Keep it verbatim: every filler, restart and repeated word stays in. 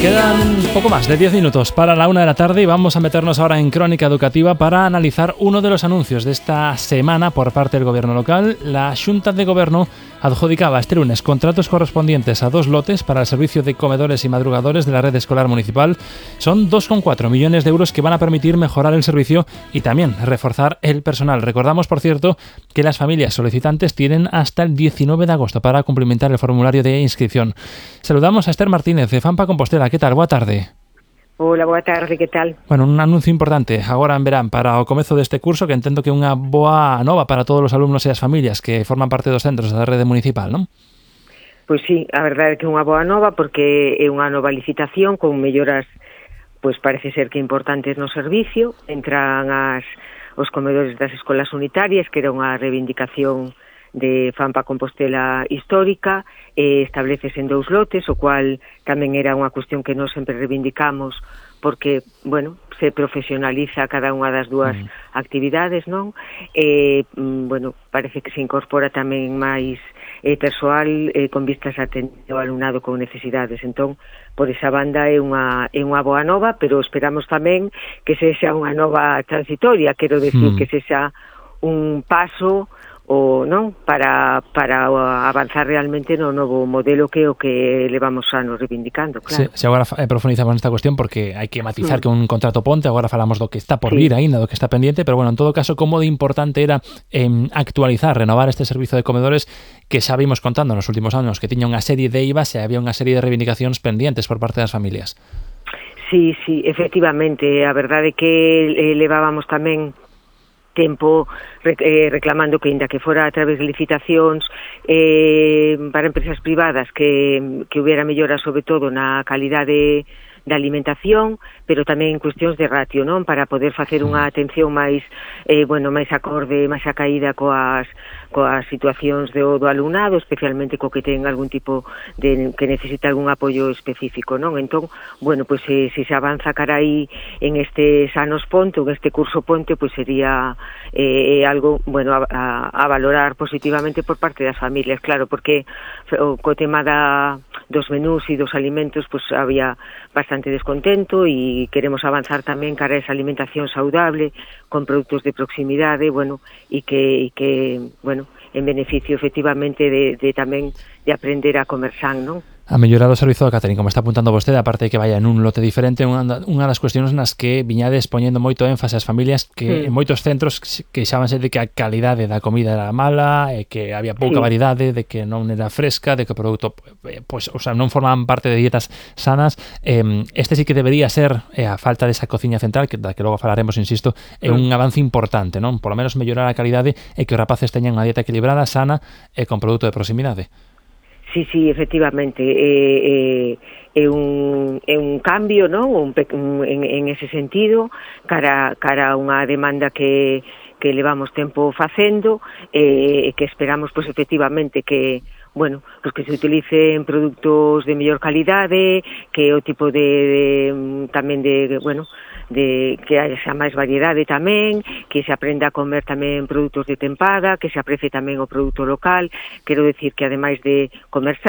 Quedan un poco más de diez minutos para la una de la tarde y vamos a meternos ahora en Crónica Educativa para analizar uno de los anuncios de esta semana por parte del Gobierno local. La Xunta de Gobierno adjudicaba este lunes contratos correspondientes a dos lotes para el servicio de comedores y madrugadores de la red escolar municipal. Son dos coma cuatro millones de euros que van a permitir mejorar el servicio y también reforzar el personal. Recordamos, por cierto, que las familias solicitantes tienen hasta el diecinueve de agosto para cumplimentar el formulario de inscripción. Saludamos a Esther Martínez de Fampa Compostela. ¿Qué tal? Boa tarde. Hola, boa tarde, que tal? Bueno, un anuncio importante agora en verán para o comezo deste curso, que entendo que é unha boa nova para todos os alumnos e as familias que forman parte dos centros da rede municipal, non? Pois sí, a verdade é que é unha boa nova porque é unha nova licitación con melloras, pois parece ser que importantes no servicio. Entran as, os comedores das escolas unitarias, que era unha reivindicación de Fampa Compostela histórica, e estableces en dous lotes, o cual tamén era unha cuestión que nós sempre reivindicamos porque, bueno, se profesionaliza cada unha das dúas mm. actividades, non? E, bueno, parece que se incorpora tamén máis eh, persoal eh, con vistas a atender ao alumnado con necesidades. Entón, por esa banda é unha, é unha boa nova, pero esperamos tamén que sexa unha nova transitoria, quero decir, mm. que sexa un paso o non para para avanzar realmente no novo modelo que o que levamos anos reivindicando, claro. Se, se agora eh, profundizamos nesta cuestión porque hai que matizar sí. que un contrato ponte, agora falamos do que está por sí. vir aínda, do que está pendiente, pero bueno, en todo caso, como de importante era eh, actualizar, renovar este servizo de comedores que xa vimos contando nos últimos anos que tiña unha serie de I V As e había unha serie de reivindicacións pendientes por parte das familias. Sí, sí, efectivamente, a verdade é que eh, levábamos tamén tempo eh, reclamando que, ainda que fora a través de licitacións eh, para empresas privadas, que, que hubiera mellora sobre todo na calidade da alimentación, pero tamén en cuestións de ratio, non? Para poder facer unha atención máis, eh, bueno, máis acorde, máis acaída coas coas situacións do, do alumnado, especialmente co que ten algún tipo de que necesita algún apoio específico, non? Entón, bueno, pois se, se se avanza cara aí en estes anos ponte, en este curso ponte, pois sería eh, algo, bueno, a, a, a valorar positivamente por parte das familias, claro, porque o co tema da, dos menús e dos alimentos, pois había bastante descontento e queremos avanzar tamén cara a esa alimentación saudable con produtos de proximidade, bueno, e que, e que bueno, en beneficio efectivamente de, de tamén de aprender a comer san, non? A mellorar o servizo do catering, como está apuntando vostede, aparte de que vaya en un lote diferente, unha, unha das cuestións nas que viñades poñendo moito énfase ás familias que sí. en moitos centros queixábanse de que a calidade da comida era mala, e que había pouca sí. variedade, de que non era fresca, de que o produto pues, o sea, non formaban parte de dietas sanas. Eh, este sí que debería ser eh, a falta desa cociña central, que da que logo falaremos, insisto, é un avance importante, non? Por lo menos mellorar a calidade e que os rapaces teñan unha dieta equilibrada, sana e con produto de proximidade. Sí, sí, efectivamente, é, é, é, un, é un cambio, non? Un, un, en, en ese sentido, cara, cara a unha demanda que, que levamos tempo facendo, e eh, que esperamos, pois, efectivamente, que bueno, pues que se utilicen produtos de mellor calidade, que o tipo de, de tamén de, bueno, de que haxa máis variedade tamén, que se aprenda a comer tamén produtos de tempada, que se aprecie tamén o produto local. Quero decir que ademais de comer san,